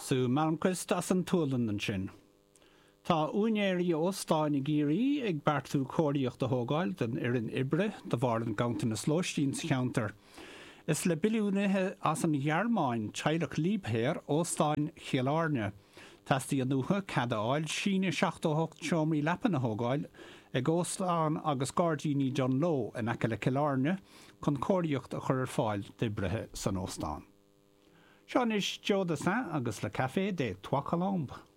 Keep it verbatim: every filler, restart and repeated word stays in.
Sue Malmquist as an tSualainn ansin. Tá úinéirí óstáin i gCiarraí ag beartú cóiríocht a thógáil don fhoireann oibre de bharr an ganntanas lóistín sa cheantar. Is le billiúnaithe as an Ghearmáin teaghlach Liebherr óstán Chill Airne. Teastaíonn uathu cead a fháil síneadh seachtó hocht seomraí leapan a thógáil ag óstán agus gairdíní Dungloe in aice le Cill Airne chun cóiríocht a chur ar fáil d'oibrithe san óstán. Seo anois Joe Dassin agus le Café des Trois Colombes.